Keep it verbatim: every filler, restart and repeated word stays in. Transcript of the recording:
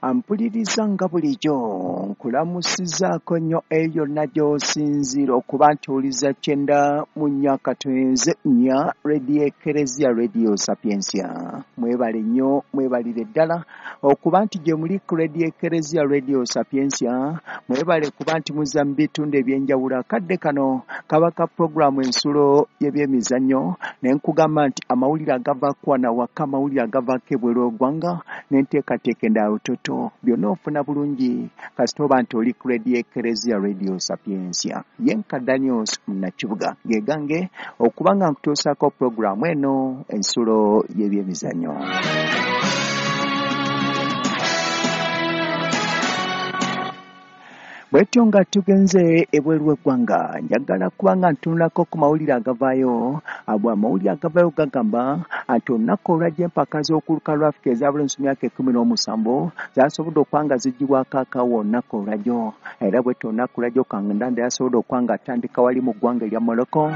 Ampuliriza nga bulijjo nkulamusizaako nnyo eyo yonna gy'osinziira okuba nti owuliza kyenda mu nnya katonze nnya Radio Ekereziya Radio Sapientia. Mwebale nnyo, mwebalire ddala okuba nti gye muli ku Radio Ekereziya Radio Sapientia. Mwebale kuba nti muzza mu bitundu eby'enjawulo. Akadde kano kaba ka puroguraamu ensulo y'ebyemizannyo, ne nkugamba nti amawulire agavaako wano awaka, amawulire agavaako ebweru w'eggwanga n'enteekateeka endala toto byonna ofuna bulungi kasita oba nti oli ku Radio Ekereziya Radio Sapientia. Ye nka Daniels Munnakibuga ge gange okuba nga nkutuusaako puroguraamu eno ensulo y'ebyemizannyo. Bwetyo nga tugenze ebweru w'eggwanga, njagala kuba nga ntunulako ku mawulire agavaayo. Abo amawulire agavaayo gagamba nti olunaku olwajja empaka z'okuluka lwa Afrika eza buli nsi myaka ekkumi n'omusanvu zasobodde okuba nga ziggyibwako akawo olunaku olwajjo. Era bwetyo olunaku olwajjo Kandanda yasobodde okuba nga atandika wali mu ggwanga erya Morocco.